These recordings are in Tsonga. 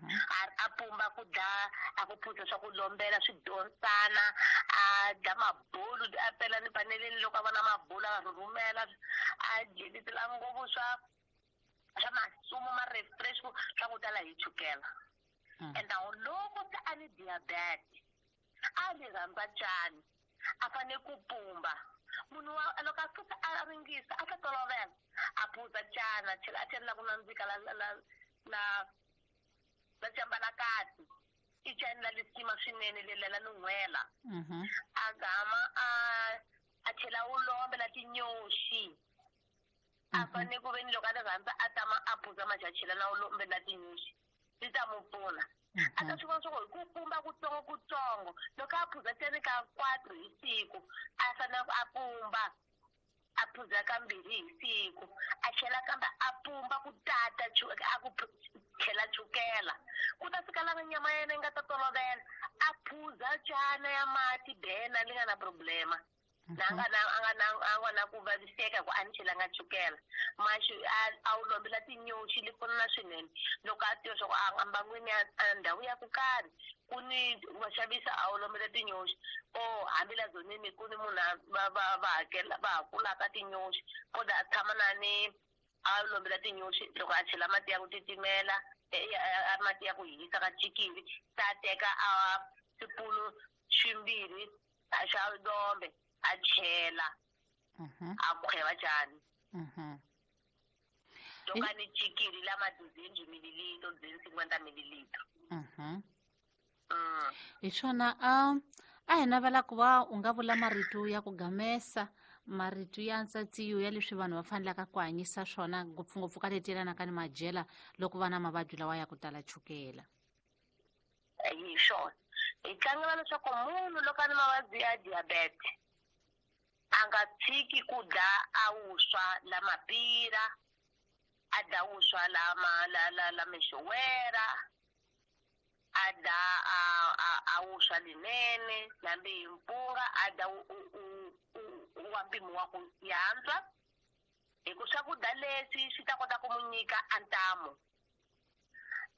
A pumba ku dla, a ku phuza swa ku lombela swidonsana, a dla mabulu, a pela ni paneleni loko a vona mabulu a rhurhumela, a dyelitela ngopfu swa masumu ma refresh swa ku tala hi chukela. And now loko se a ni diabetes, a ni rhandza cani, a fane ku pumba. Munhu wa loko a fika a ringisa a ta tolovela, a phuza cana, a tlhela a chela ku nandzika la la la la la cambalakati. I cani la lisima swinene lela la nun'hwela. A gama a chela ulombe la tinyoxi. A fane ku veni loko a ti rhandza a tama a phuza maxi a chela na ulombe la tinyoxi. Swi ta mu pfuna. A ta swi vona swa ku hi ku pumba kutsongo kutsongo loko a phuza teni ka 4 hi siku, a fanele ku a pumba a phuza kambirhi hi siku, a tlhela kambe a pumba ku tata a ku tlhela chukela. Ku ta fika lava nyama ya yena yi nga ta tolovela, a phuza cana ya mati bena li nga na problema. Na nga na, a nga na, a nga na ku vaviseka ku a ni chelanga chukela. Maxi a wu lombela tinyoxi li pfuna swinene. Loko a tiva swa ku a mbangwini ya ndhawu ya ku karhi ku ni va xavisa, a wu lombela tinyoxi. O hambi la zonini ku ni munhu a va, va, va hakela, va hakulaka tinyoxi. Koda a tshama na ni a lombela tinyoxi, loko a chela mati ya ku titimela, mati ya ku hisa ka chikili, ta teka a swipunu swimbirhi a xa lombe a chela, a khweva cani. To ka ni chikili la ma 200 mililitro, 250 mililitro. Hi swona, a hi navela ku va u nga vula marito ya ku gamesa, marito ya ntsatsiyo ya leswi vanhu va fanelaka ku hanyisa swona, ngopfungopfu ka leti yelanaka ni madyela loko va na mavabyi lawa ya ku tala chukela. Hi swona. Hi tlangela leswaku munhu loko a ni mavabyi ya diabetes a nga tshiki ku dla a wuswa la mapira, a dla wuswa la ma, la, la, la mixowera, a dla a, a, a wuswa linene, nambi hi mpunga, a dla u, u, u, u, wa mpimo wa ku yantswa. Hi ku swakudya leswi swi ta kota ku mu nyika a ntamu.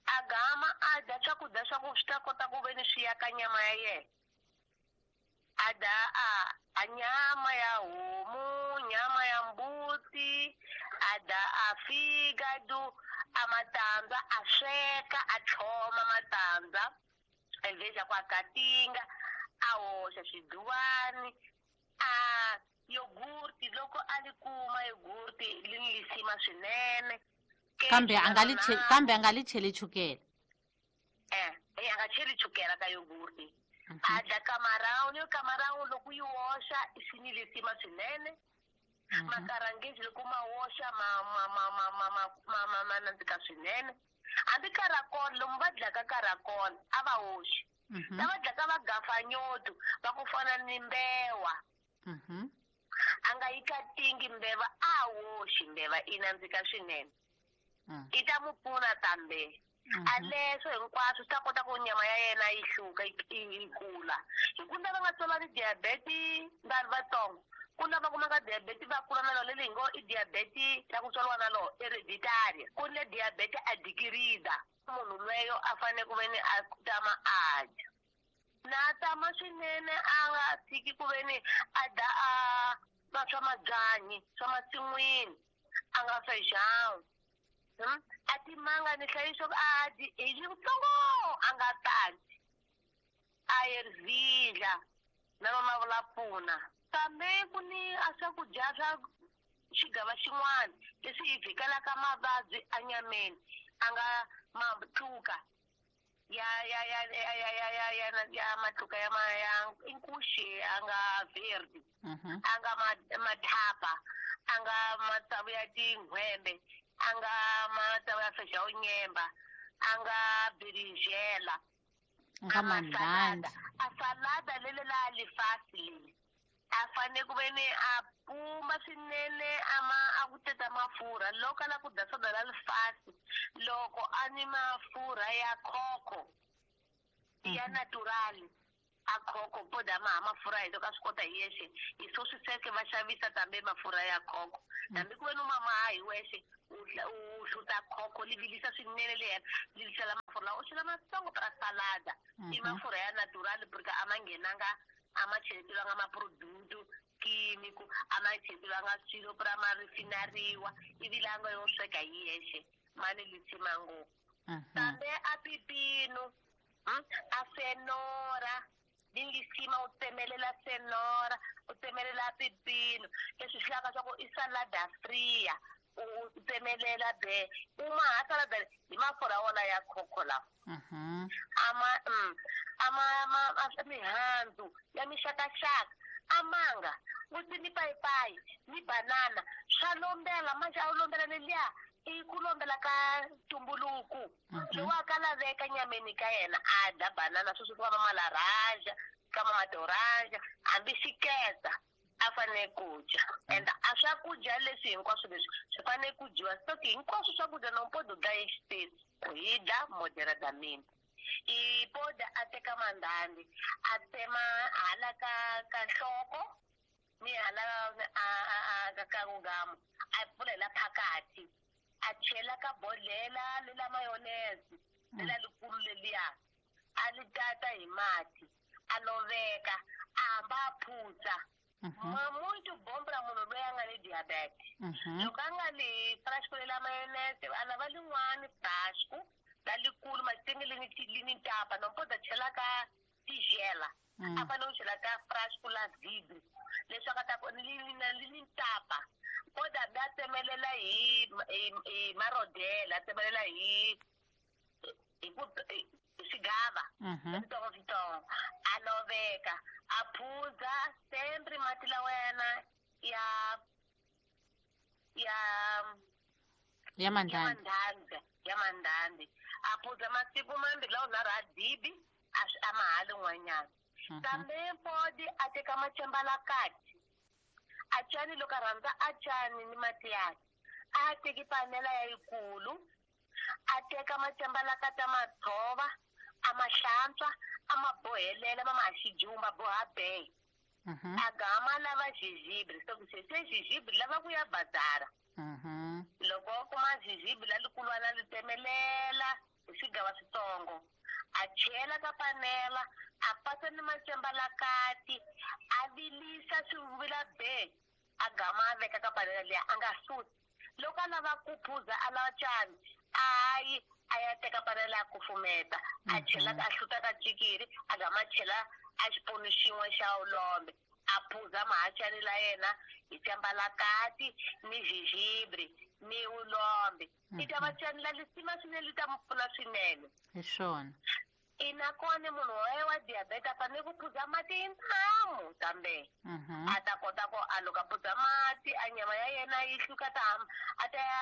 A gama a dya swakudya swa ku swi ta kota ku ve ni swi ya ka nyama ya yena. A dya a nyama ya homu, nyama ya mbuti, a dya a figado, a matandza, a sweka, a tlhoma matandza, endzeni ku a katinga, a hoxa xiduwani, a yogurt, loko a li kuma yogurt li ni lisima swinene. Kambe a nga li kambe a nga li cheli chukela. A nga cheli chukela ka yogurt. A dla kamarawuni, yo kamarawuni loko yi woxa swi ni lisima swinene. Makarangezi loko ma woxa ma nandzika swinene. Hambi karakol, lomu va dlaka karakol a va woxi. Lava dlaka va gafanyoto va ku fana ni mbewa. A nga yi katingi mbeva, a woxi mbeva i nandzika swinene. I ta mu pfuna kambe. A leswo hinkwaswo swi ta kota ku nyama ya yena yi hluka, yi kula. Hi ku lava nga tswala ni diabetes vanhu vatsongo, ku lava kumaka diabetes va kula na lona, leyi ngo i diabetes ya ku tswariwa na lona, hereditary. Ku ni diabetes a dikirida. Munhu lweyo a fanele ku ve ni a tama a dya. Na tama swinene a nga tshiki ku ve ni a dya a va swa mabyanyi, swa masin'wini, a nga fejangi. A timanga ni hlayiso a dyi hi yitsongo, a nga tali. A yerzidla na rona vula pfuna. Kambe ku ni a swakudya swa xigava xin'wana leswi hi vhikelaka mavabyi enyameni, a nga matluka ya, ya, ya, ya, ya, ya, ya, ya, ya matluka ya ma, ya inkuxi, a nga verde, a nga mathapa, a nga matsavu ya tin'hwembe, a nga matsavu ya fexa unyemba, a nga beringela, Nga a ma mandhandha. salada. A salada lele la lifasi leli. A fanele ku ve ni a pumba swinene, a ma, a ku teta mafurha. Loko a lava ku dya soda la lifasi, loko a ni mafurha ya khokho, ya natural, a khokho, po dya ma ha mafurha hi loko a swi kota hi yexe. Hi swo swi sweke va xavisa kambe mafurha ya khokho. Hambi ku ve ni u ma maha hi wexe, u hluta khokho, li vilisa swinene le henhla, li sala mafurha lawa. u chela matsongo pra salada. I mafurha ya natural porque a ma nghenanga, a ma cheletiwanga maproduto químico, a ma cheletiwanga swilo pra ma refinariwa, ivi la nga yo sweka hi yexe ma ni lisima ngopfu. Kambe a pipino, a fenora ni lisima, u tsemelela fenora, u tsemelela pipino, leswi swi lavaka swa ku i salada fria, u tsemelela be u ma ha salada hi mafurha wona ya khokho lawa. Ama ama ama mihandzu ya mixakaxaka, a manga futhi ni payipayi ni banana swa lombela. Manje a wu lombela leliya i ku lombela ka ntumbuluko lowu a ka laveka nyameni ka yena. A dla banana sweswi ku va malaranja ka matoranja, hambi xikeza a fanele ku dya. And a swakudya leswi hinkwaswo leswi swi fanele ku dyiwa stock hinkwaswo swakudya nompodo dla exitesi hi dla moderadamente. I poda a teka mandhandhi, a tsema hala ka nhloko ni hala a ka nghamu, a pfulela phakathi, a chela ka bodlela lela mayonnaise lela likulu leliya, a li tata hi mati, a loveka, a hamba a phutsa. Muito bom pra munhu loyi a nga ni diabetes. Loko a nga li frasco lela mayonnaise, a lava lin'wani frasco la likulu matingi li ni tapa nompoda chela ka tigela, a fanele ku chela ka frasco la vidro leswaku a ta li ni tapa. Poda a tsemelela hi marodela, a tsemelela hi ku swigava switsongo switsongo, a loveka, a phuza sempre mati lawa yana ya ya mandhandhi, ya mandhandhi, a phuza masiku mambirhi lawa nharhu, a dibi a mahali n'wanyana. Kambe podi a teka macembalakati a cani, loko a rhandza a cani ni mati yakhe, a teki panela ya yikulu, a teka macembalakati a ma tshova, a ma hlantswa, a ma bohelela, ma ma xijumba boha be, a gama lava jijibri so se se jijibri lava ku ya bazara. Loko a kuma jijibri la likulwana, li tsemelela hi swigava switsongo, a chela ka panela, a pasa ni macembalakati, a vilisa swi vila be, a gama a veka ka panela liya, a nga susi. Loko a lava ku phuza, a lava cani, a yi a ya teka panela ya kufumeta, a chela, a hluta ka cikiri, a gama a chela a xipunu xin'we xa ulombe, a phuza mahachani la yena hi cembalakati ni jijibri ni ulombe. I ta va cani la lisima swinene, li ta mu pfuna swinene. Hi swona. I nakona munhu wa diabetes a fanele ku phuza mati hi ntamu, kambe a ta kota ku a loko a phuza mati a nyama ya yena yi hluka, ta a ta ya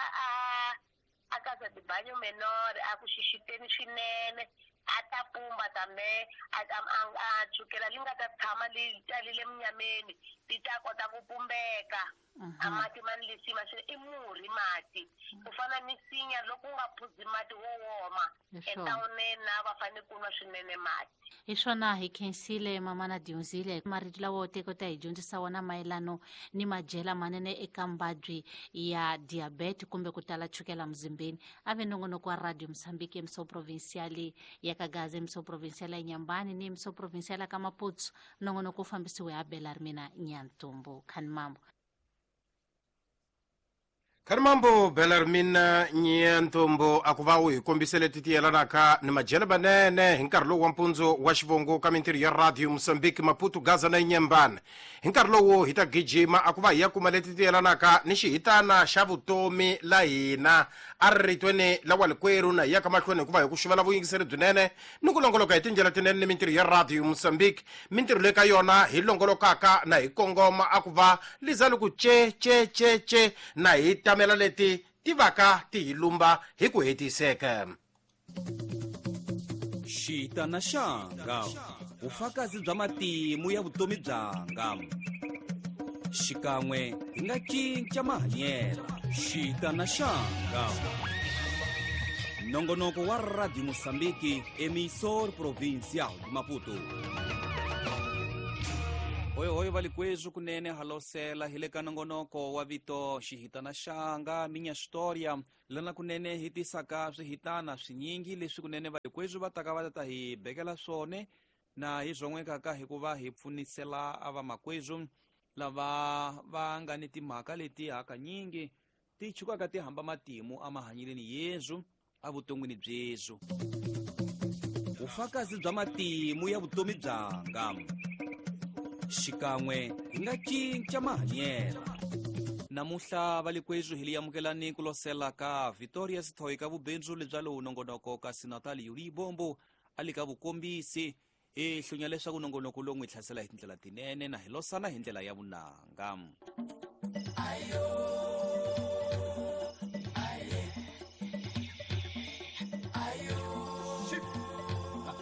a casa de banho menor, a ku xixiteni swinene, a ta pumba tambe a chukela li nga ta tshama li talile munyameni li ta kota ku pumbeka. A mati ma ni lisima swinene, i murhi mati, ku fana ni sinya loko u nga phuzi mati wo woma. Etawuneni na va fanele ku nwa swinene mati. Hi swona, hi khensile mamana Dyondzile marito lawa teko ta hi dyondzisa wona mayelano ni madyela manene eka mbabyi ya diabete kumbe ku tala chukela muzimbeni. A ve nongonoko wa Radio Mosambiki, emissão provincial ya ka Gaza, emissão provincial ya Nyambani ni emissão provincial ya ka Maputo. Nongonoko wu fambisiwe ha Bela ri mina Nyantumbu. Khani mambo. Kharimambo Belarmina Nyantombo, a ku va u hi kombisele ti tiyelanaka ni madyelo manene hi nkarhi lowu wa mpundzu wa xivongo ka mintirho ya Radio Mosambiki, Maputo, Gaza na Inyembane. Hi nkarhi lowu hi ta gijima a ku va hi ya kuma leti tiyelanaka ni xihitana xa vutomi la hina a ri ritweni la walikwerhu, na hi ya ka mahlweni hikuva hi ku xuvela vuyingiseri byinene ni ku longoloka hi tindlela tinene ni mintirho ya Radio Mosambiki, mintirho leyi ka yona hi longolokaka na hi kongoma a ku va liza loko ce ce ce ce na hi tamela leti ti vaka ti hi lumba hi ku hetiseka. Xitana xanga, vufakazi bya matimu ya vutomi byanga, xikan'we hi nga cinca mahanyelo. Xitana xanga, nongonoko wa Radio Mosambiki, emissor provincial de Maputo. Hoyohoyo valikwethu kunene halosela hi le ka nongonoko wa vito Xihitana Xanga Minha História, lana kunene hi tisaka swihitana swinyingi leswi kunene valikwethu va taka va ta hi bekela swone na hi zwon'wekaka hikuva hi pfunisela a vamakwethu lava va nga ni timhaka leti hakanyingi ti chukaka ti hamba matimu emahanyeleni yezu evuton'wini byezu. Vufakazi bya matimu ya vutomi byanga xikan'we hi nga cinca mahanyelo. Namuhla valikwethu hi li amukelani ku losela ka Victoria Sithoyi ka vubindzu lebya lowu nongonoko, kasi Natal Yuli Bombo a li ka vukombisi. Hi hlunya leswaku nongonoko lowu n'wi hlasela hi tindlela tinene na hi losana hi ndlela ya vunanga.